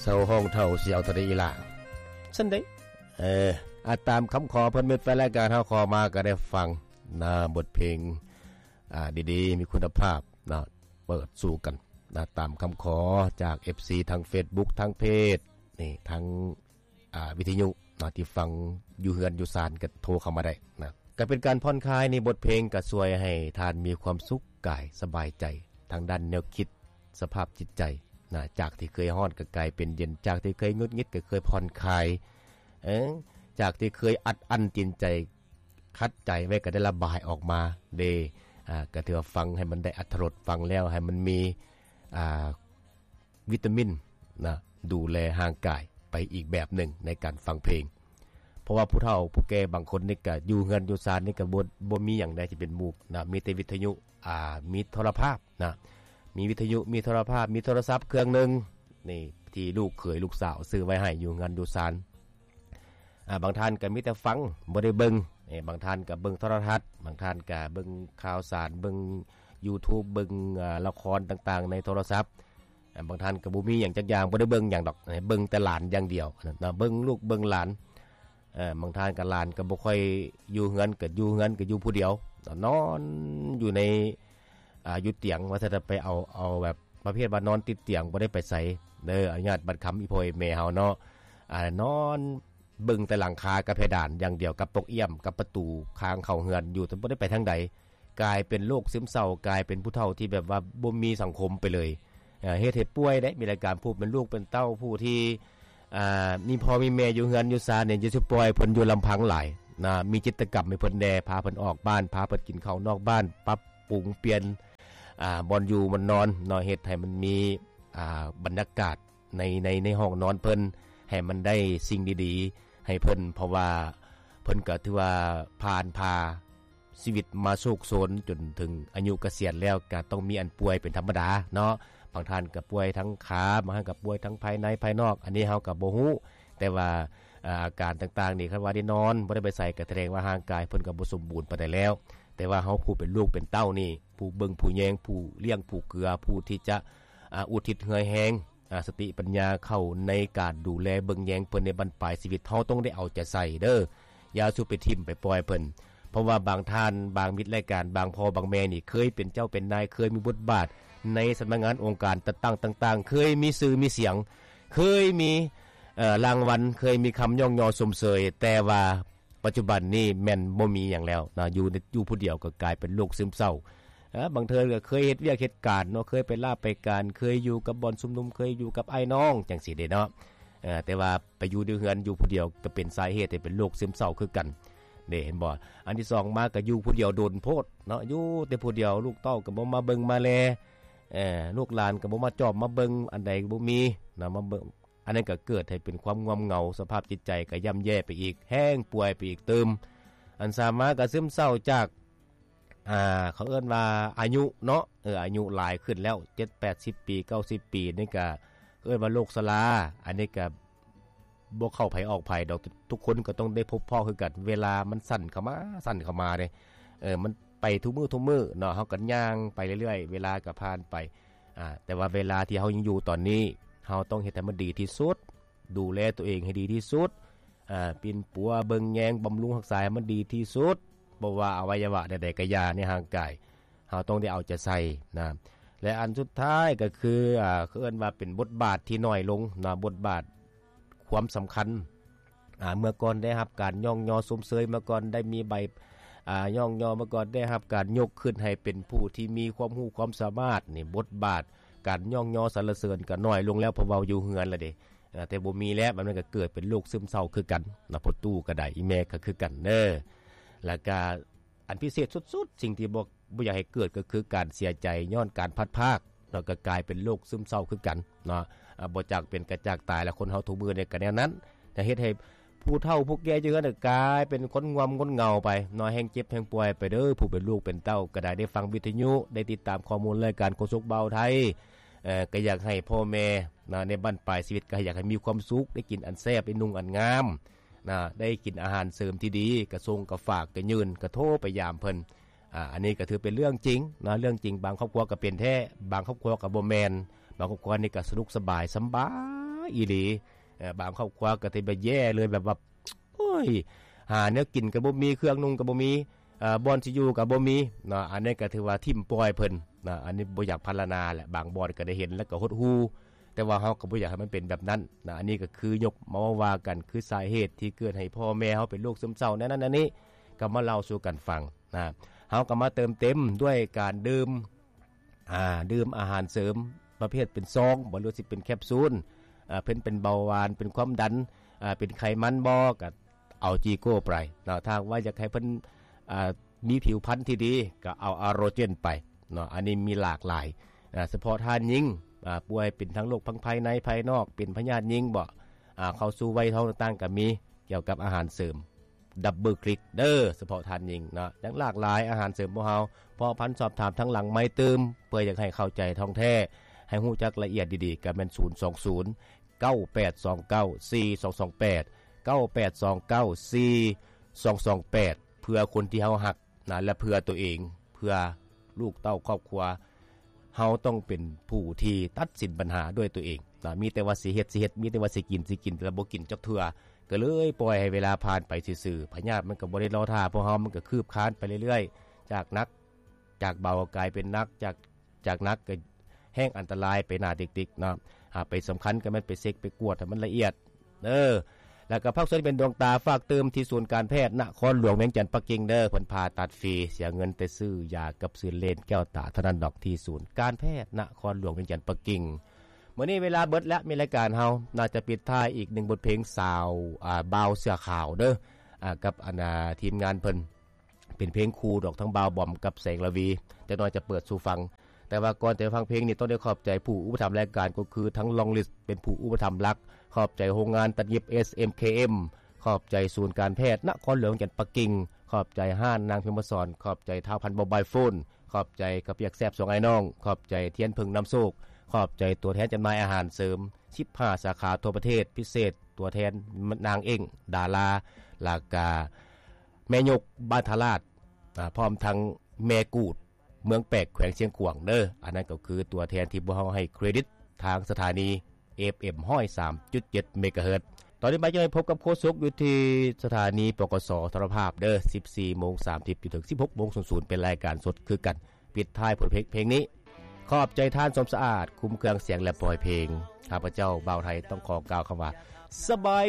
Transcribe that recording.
ເຊົາຮ້ອງເຖົ້າຊິເອົາເທົ່າໃດອີ່ຫຼ້າ ຊັ້ນເດ້. ເອີ ອາ ຕາມຄຳຂໍເພິ່ນ ມິດແຟນລາຍການເຮົາຂໍມາກໍໄດ້ຟັງນະ ບົດເພງ ອາ ດີໆ ມີຄຸນນະພາບນະ ເປີດສູ່ກັນນະ ຕາມຄຳຂໍຈາກເອັຟຊີທາງເຟສບຸກ ທາງເພຈນີ້ ທາງ ອາ ວິທະຍຸເນາະ ທີ່ຟັງຢູ່ເຮືອນຢູ່ຊານກໍໂທເຂົ້າມາໄດ້ນະ. ກໍເປັນການຜ່ອນຄາຍໃນບົດເພງ ກໍຊ່ວຍໃຫ້ທ່ານມີຄວາມສຸກກາຍສະບາຍໃຈ ທາງດ້ານແນວຄິດ ສະພາບຈິດໃຈນະ ຈາກທີ່ເຄີຍຮ້ອນກໍກາຍເປັນເຢັນ ຈາກທີ່ເຄີຍຫງຸດຫງິດກໍເຄີຍຜ່ອນຄາຍ ເອີ ຈາກທີ່ເຄີຍອັດອັ້ນຈິດໃຈ ຂັດໃຈໄວ້ກໍໄດ້ລະບາຍອອກມາເດ້. ອາ ກໍຖືວ່າຟັງໃຫ້ມັນໄດ້ອັດຖະລົດ ຟັງແລ້ວໃຫ້ມັນມີ ອາ ວິຕາມິນນະ ດູແລຮ່າງກາຍໄປອີກແບບໜຶ່ງໃນການຟັງເພງ. ເພາະວ່າຜູ້ເຖົ້າຜູ້ແກ່ບາງຄົນນີ້ກະຢູ່ເຮືອນຢູ່ຊານນີ້ກະບໍ່ ບໍ່ມີຫຍັງໃດທີ່ເປັນໝູ່ນະ ມີແຕ່ວິທະຍຸ ອາ ມີໂທລະພາບນະ ມີວິທະຍຸ ມີໂທລະພາບ ມີໂທລະສັບເຄື່ອງໜຶ່ງນີ້ ທີ່ລູກເຂີຍລູກສາວຊື້ໄວ້ໃຫ້ຢູ່ເຮືອນຢູ່ຊານ. ອາ ບາງທ່ານກໍມີແຕ່ຟັງ ບໍ່ໄດ້ເບິ່ງ. ເອີ ບາງທ່ານກໍເບິ່ງໂທລະທັດ ບາງທ່ານກໍເບິ່ງຂ່າວສານ ເບິ່ງຢູທູບ ເບິ່ງ ອາ ລະຄອນຕ່າງໆໃນໂທລະສັບ. ອາ ບາງທ່ານກໍບໍ່ມີຫຍັງຈັກຢ່າງ ບໍ່ໄດ້ເບິ່ງຫຍັງດອກ ເອີ ເບິ່ງແຕ່ຫຼານຢ່າງດຽວນະ ເບິ່ງລູກເບິ່ງຫຼານ. ເອີ ບາງທ່ານກໍຫຼານກໍບໍ່ຄ່ອຍຢູ່ເຮືອນ ກໍຢູ່ເຮືອນກໍຢູ່ຜູ້ດຽວ ນອນຢູ່ໃນ ອາ ຢູ່ຕຽງ ວ່າຊັ້ນ ໄປເອົາ ເອົາແບບ ປະເພດວ່ານອນຕິດຕຽງບໍ່ໄດ້ໄປໃສເດີ ອະນຸຍາດບັດຄຳອີ່ພໍ່ອີ່ແມ່ເຮົາເນາະ ອາ ນອນເບິ່ງແຕ່ຫຼັງຄາກັບເພດານຢ່າງດຽວ ກັບປົກອ້ຽມ ກັບປະຕູທາງເຂົ້າເຮືອນຢູ່ ແຕ່ບໍ່ໄດ້ໄປທາງໃດ. ກາຍເປັນໂລກຊຶມເສົ້າ ກາຍເປັນຜູ້ເຖົ້າທີ່ແບບວ່າບໍ່ມີສັງຄົມໄປເລີຍ ເຮັດໃຫ້ປ່ວຍເດ້. ມີລາຍການຜູ້ເປັນລູກເປັນເຕົ້າ ຜູ້ທີ່ ອາ ມີພໍ່ມີແມ່ຢູ່ເຮືອນຢູ່ຊານນີ້ ຢ່າຊິປ່ອຍເພິ່ນຢູ່ລຳພັງຫຼາຍນະ ມີກິດຈະກຳໃຫ້ເພິ່ນແດ່ ພາເພິ່ນອອກບ້ານ ພາເພິ່ນກິນເຂົ້ານອກບ້ານ ປັບປຸງປ່ຽນ ອາ ບ່ອນຢູ່ບ່ອນນອນເນາະ ເຮັດໃຫ້ມັນມີ ອາ ບັນຍາກາດໃນ ໃນ ໃນຫ້ອງນອນເພິ່ນ ໃຫ້ມັນໄດ້ສິ່ງດີໆໃຫ້ເພິ່ນ ເພາະວ່າເພິ່ນກໍຖືວ່າຜ່ານຜ່າຊີວິດມາໂຊກໂຊນຈົນເຖິງອາຍຸກະສຽນແລ້ວ ກໍຕ້ອງມີອັນປ່ວຍເປັນທຳມະດາເນາະ. ບາງທ່ານກໍປ່ວຍທັງຂາ ບາງທ່ານກໍປ່ວຍທັງພາຍໃນພາຍນອກ ອັນນີ້ເຮົາກໍບໍ່ຮູ້ ແຕ່ວ່າ ອາ ອາການຕ່າງໆນີ້ ຄັນວ່າໄດ້ນອນ ບໍ່ໄດ້ໄປໃສ ກໍສະແດງວ່າຮ່າງກາຍເພິ່ນກໍບໍ່ສົມບູນປານໃດແລ້ວ. ແຕ່ວ່າເຮົາຜູ້ເປັນລູກເປັນເຕົ້ານີ້ ຜູ້ເບິ່ງຜູ້ແຍງ ຜູ້ລ້ຽງຜູ້ເກືອ ຜູ້ທີ່ຈະ ອາ ອຸທິດເຫື່ອແຮງ ອາ ສະຕິປັນຍາເຂົ້າໃນການດູແລເບິ່ງແຍງເພິ່ນໃນບັ້ນປາຍຊີວິດ ເຮົາຕ້ອງໄດ້ເອົາໃຈໃສ່ເດີ ຢ່າສູ່ໄປຖິ້ມໄປປ່ອຍເພິ່ນ. ເພາະວ່າບາງທ່ານ ບາງມິດລາຍການ ບາງພໍ່ບາງແມ່ນີ້ ເຄີຍເປັນເຈົ້າເປັນນາຍ ເຄີຍມີບົດບາດໃນສຳນັກງານອົງການຈັດຕັ້ງຕ່າງໆ ເຄີຍມີຊື່ມີສຽງ ເຄີຍມີ ເອີ ລາງວັນ ເຄີຍມີຄຳຍ້ອງຍໍຊົມເຊີຍ ແຕ່ວ່າ ປັດຈຸບັນນີ້ແມ່ນບໍ່ມີຫຍັງແລ້ວເນາະ ຢູ່ ຢູ່ຜູ້ດຽວກໍກາຍເປັນໂລກຊຶມເສົ້າ. ເອີ ບາງເທື່ອກໍເຄີຍເຮັດວຽກເຮັດການເນາະ ເຄີຍໄປລາໄປການ ເຄີຍຢູ່ກັບບ່ອນຊຸມນຸມ ເຄີຍຢູ່ກັບອ້າຍນ້ອງຈັ່ງຊີ້ເດ້ເນາະ. ເອີ ແຕ່ວ່າໄປຢູ່ໃນເຮືອນ ຢູ່ຜູ້ດຽວກໍເປັນສາເຫດໃຫ້ເປັນໂລກຊຶມເສົ້າຄືກັນເດ້ ເຫັນບໍ່? ອັນທີສອງມາກໍຢູ່ຜູ້ດຽວດົນໂພດເນາະ ຢູ່ແຕ່ຜູ້ດຽວ ລູກເຕົ້າກໍບໍ່ມາເບິ່ງມາແລ ເອີ ລູກຫຼານກໍບໍ່ມາຈອບມາເບິ່ງ ອັນໃດກໍບໍ່ມີເນາະ ມາເບິ່ງ ອັນນັ້ນກໍເກີດໃຫ້ເປັນຄວາມງ່ວມເຫງົາ ສະພາບຈິດໃຈກໍຍ່ຳແຍ່ໄປອີກ ແຮງປ່ວຍໄປອີກຕື່ມ. ອັນສາມມາກໍຊຶມເສົ້າຈາກ ອ່າ ເຂົາເອີ້ນວ່າອາຍຸເນາະ ເອີ ອາຍຸຫຼາຍຂຶ້ນແລ້ວ ເຈັດແປດສິບປີ ເກົ້າສິບປີນີ້ກໍເອີ້ນວ່າໂລກຊະລາ. ອັນນີ້ກໍບໍ່ເຂົ້າໃຜອອກໃຜດອກ ທຸກຄົນກໍຕ້ອງໄດ້ພົບພໍ້ຄືກັນ ເວລາມັນສັ້ນເຂົ້າມາ ສັ້ນເຂົ້າມາເດ້ ເອີ ມັນ ໄປທຸກມື້ທຸກມື້ເນາະ ເຮົາກໍຍ່າງໄປເລື້ອຍໆ ເວລາກໍຜ່ານໄປ ອາ ແຕ່ວ່າເວລາທີ່ເຮົາຍັງຢູ່ຕອນນີ້ ເຮົາຕ້ອງເຮັດໃຫ້ມັນດີທີ່ສຸດ ດູແລຕົວເອງໃຫ້ດີທີ່ສຸດ ອາ ປິ່ນປົວເບິ່ງແຍງ ບຳລຸງຮັກສາໃຫ້ມັນດີທີ່ສຸດ ບໍ່ວ່າອະໄວຍະວະໃດໆກໍຢ່າໃນຮ່າງກາຍ ເຮົາຕ້ອງໄດ້ເອົາໃຈໃສ່ນະ. ແລະ ອັນສຸດທ້າຍກໍຄື ອາ ເຂົາເອີ້ນວ່າເປັນບົດບາດທີ່ນ້ອຍລົງນະ ບົດບາດ ຄວາມສຳຄັນ ອາ ເມື່ອກ່ອນໄດ້ຮັບການຍ້ອງຍໍຊົມເຊີຍ ເມື່ອກ່ອນໄດ້ມີໃບ ອາ ຍ້ອງຍໍ ເມື່ອກ່ອນໄດ້ຮັບການຍົກຂຶ້ນໃຫ້ເປັນຜູ້ທີ່ມີຄວາມຮູ້ຄວາມສາມາດນີ້ ບົດບາດການຍ້ອງຍໍສັນລະເສີນກໍນ້ອຍລົງແລ້ວ ເພາະເວົ້າຢູ່ເຮືອນລະເດ້ ອາ ແຕ່ບໍ່ມີແລ້ວ ແບບນັ້ນກໍເກີດເປັນໂລກຊຶມເສົ້າຄືກັນນະ ພໍ່ຕູ້ກໍໄດ້ ອີ່ແມ່ກໍຄືກັນເດີ. ແລ້ວກໍ ອັນພິເສດສຸດໆ ສິ່ງທີ່ບໍ່ ບໍ່ຢາກໃຫ້ເກີດກໍຄືການເສຍໃຈຍ້ອນການພັດພາກເນາະ ກໍກາຍເປັນໂລກຊຶມເສົ້າຄືກັນເນາະ ອາ ບໍ່ຈັກເປັນກໍຈັກຕາຍ ແລະ ຄົນເຮົາທຸກມື້ນີ້ກໍແນວນັ້ນ ຈະເຮັດໃຫ້ຜູ້ເຖົ້າຜູ້ແກ່ຢູ່ເຮືອນກາຍເປັນຄົນງ່ວມຄົນເຫງົາໄປເນາະ ແຮ່ງເຈັບແຮ່ງປ່ວຍໄປເດີ. ຜູ້ເປັນລູກເປັນເຕົ້າກໍໄດ້ ໄດ້ຟັງວິທະຍຸ ໄດ້ຕິດຕາມຂໍ້ມູນລາຍການໂຄສົກບ່າວໄທ ເອີ ກໍຢາກໃຫ້ພໍ່ແມ່ເນາະ ໃນບັ້ນປາຍຊີວິດ ກໍຢາກໃຫ້ມີຄວາມສຸກ ໄດ້ກິນອັນແຊບ ໄດ້ນຸ່ງອັນງາມ ນະ ໄດ້ກິນອາຫານເສີມທີ່ດີ ກະສົ່ງກະຝາກກະຍື່ນ ກະໂທໄປຢາມເພິ່ນ. ອາ ອັນນີ້ກະຖືເປັນເລື່ອງຈິງນະ ເລື່ອງຈິງ ບາງຄອບຄົວກະເປັນແທ້ ບາງຄອບຄົວກະບໍ່ແມ່ນ ບາງຄອບຄົວນີ້ກະສະດວກສະບາຍ ສຳບາຍ ອີ່ຫຼີ. ເອີ ບາງຄອບຄົວກໍຖືວ່າແຍ່ເລີຍ ແບບວ່າ ໂອ້ຍ ຫາແນວກິນກໍບໍ່ມີ ເຄື່ອງນຸ່ງກໍບໍ່ມີ ເອີ ບ່ອນຊິຢູ່ກໍບໍ່ມີເນາະ. ອັນນີ້ກໍຖືວ່າຖິ້ມປ່ອຍເພິ່ນເນາະ. ອັນນີ້ບໍ່ຢາກພັນລະນາແຫຼະ ບາງບ່ອນກໍໄດ້ເຫັນແລ້ວກໍຫົດຫູ່ ແຕ່ວ່າເຮົາກໍບໍ່ຢາກໃຫ້ມັນເປັນແບບນັ້ນນະ. ອັນນີ້ກໍຄືຍົກມາເວົ້າວ່າກັນ ຄືສາເຫດທີ່ເກີດໃຫ້ພໍ່ແມ່ເຮົາເປັນໂລກຊຶມເສົ້າແນວນັ້ນແນວນີ້ ກໍມາເລົ່າສູ່ກັນຟັງນະ. ເຮົາກໍມາເຕີມເຕັມດ້ວຍການດື່ມ ອ່າ ດື່ມອາຫານເສີມປະເພດເປັນຊອງບໍ ຫຼືຊິເປັນແຄບຊູນ ອ່າ ເປັນ ເປັນເບົາຫວານ ເປັນຄວາມດັນ ອ່າ ເປັນໄຂມັນບໍ ກໍເອົາຈີໂກ້ໄປເນາະ. ຖ້າຫາກວ່າຢາກໃຫ້ເພິ່ນ ອ່າ ມີຜິວພັນທີ່ດີ ກໍເອົາອາໂຣເຈນໄປເນາະ. ອັນນີ້ມີຫຼາກຫຼາຍ ອ່າ ສະເພາະທ່ານຍິງ ອ່າ ປ່ວຍເປັນທັງໂລກທັງພາຍໃນພາຍນອກ ເປັນພະຍາດຍິງບໍ ອ່າ ເຂົ້າສູ່ໄວທ້ອງຕ່າງໆ ກໍມີ ກ່ຽວກັບອາຫານເສີມ ດັບເບິນຄລິກເດີ ສະເພາະທ່ານຍິງເນາະ. ຍັງຫຼາກຫຼາຍອາຫານເສີມຂອງເຮົາ ເພາະພັນສອບຖາມທາງຫຼັງໄມຕື່ມ ເພື່ອຢາກໃຫ້ເຂົ້າໃຈທ່ອງແທ້ ໃຫ້ຮູ້ຈັກລະອຽດດີໆ ກໍແມ່ນ ສູນສອງສູນ ເກົ້າແປດສອງເກົ້າ ສີ່ສອງສອງແປດ ເກົ້າແປດສອງເກົ້າ ສີ່ສອງສອງແປດ ເພື່ອຄົນທີ່ເຮົາຮັກນະ ແລະ ເພື່ອຕົວເອງ ເພື່ອລູກເຕົ້າຄອບຄົວ. ເຮົາຕ້ອງເປັນຜູ້ທີ່ຕັດສິນບັນຫາດ້ວຍຕົວເອງນະ. ມີແຕ່ວ່າຊິເຮັດ ຊິເຮັດ ມີແຕ່ວ່າຊິກິນ ຊິກິນ ແຕ່ບໍ່ກິນຈັກເທື່ອ ກໍເລີຍປ່ອຍໃຫ້ເວລາຜ່ານໄປຊື່ໆ. ພະຍາດມັນກໍບໍ່ໄດ້ລໍຖ້າພວກເຮົາ ມັນກໍຄືບຄານໄປເລື້ອຍໆ ຈາກໜັກ ຈາກເບົາກາຍເປັນໜັກ ຈາກ ຈາກໜັກກໍແຮ່ງອັນຕະລາຍໄປໜ້າຕິກໆເນາະ. ຫາກໄປສຳຄັນກໍແມ່ນໄປເຊັກໄປກວດໃຫ້ມັນລະອຽດ ເອີ ແລ້ວກໍພາກສ່ວນເປັນດວງຕາ ຝາກຕື່ມທີ່ສູນການແພດນະຄອນຫຼວງວຽງຈັນປັກກິ່ງເດີ. ເພິ່ນຜ່າຕັດຟຣີ ເສຍເງິນແຕ່ຊື້ຢາກັບຊື້ເລນແກ້ວຕາເທົ່ານັ້ນດອກ ທີ່ສູນການແພດນະຄອນຫຼວງວຽງຈັນປັກກິ່ງ. ມື້ນີ້ເວລາເບິດແລ້ວ ມີລາຍການເຮົາໜ້າຈະປິດທ້າຍອີກໜຶ່ງບົດເພງ ສາວ ອ່າ ບ່າວເສື້ອຂາວເດີ ອ່າ ກັບອັນ ອ່າ ທີມງານເພິ່ນ ເປັນເພງຄູ່ດອກ ທັງບ່າວບອມກັບແສງລະວີ ຈັກໜ້ອຍຈະເປີດສູ່ຟັງ. ແຕ່ວ່າກ່ອນຈະໄປຟັງເພງນີ້ ຕ້ອງໄດ້ຂອບໃຈຜູ້ອຸປະຖຳລາຍການ ກໍຄືທັງລອງລິສ ເປັນຜູ້ອຸປະຖຳຫຼັກ, ຂອບໃຈໂຮງງານຕັດຫຍິບ ເອສເອັມເຄເອັມ, ຂອບໃຈສູນການແພດນະຄອນຫຼວງວຽງຈັນປັກກິ່ງ, ຂອບໃຈຮ້ານນາງພິມມະສອນ, ຂອບໃຈທ້າວພັນໂມບາຍໂຟນ, ຂອບໃຈເຂົ້າປຽກແຊບສອງອ້າຍນ້ອງ, ຂອບໃຈທຽນເຜິ້ງນຳໂຊກ, ຂອບໃຈຕົວແທນຈຳໜ່າຍອາຫານເສີມສິບຫ້າສາຂາທົ່ວປະເທດ, ພິເສດຕົວແທນນາງເອງດາລາ, ແລ້ວກະ ແມ່ຍົກບ້ານທ່າລາດ ອາ ພ້ອມທັງແມ່ກູດເມືອງແປກ ແຂວງຊຽງຂວາງເດີ. ອັນນັ້ນກໍຄືຕົວແທນທີ່ພວກເຮົາໃຫ້ເຄຣດິດທາງສະຖານີ ເອຟເອັມຮ້ອຍສາມຈຸດເຈັດເມກາເຮີດ. ຕອນນີ້ມາຈະໃຫ້ພົບກັບໂຄສົກຢູ່ທີ່ສະຖານີ ປກສ ທະລະພາບເດີ ສິບສີ່ໂມງສາມສິບ ຈົນເຖິງສິບຫົກໂມງສູນສູນ ເປັນລາຍການສົດຄືກັນ. ປິດທ້າຍບົດເພງ ເພງນີ້ ຂອບໃຈທ່ານ ສົມສະອາດ ຄຸ້ມເຄື່ອງສຽງ ແລະ ປ່ອຍເພງ. ຂ້າພະເຈົ້າ ບ່າວໄທ ຕ້ອງຂໍກ່າວຄຳວ່າ ສະບາຍ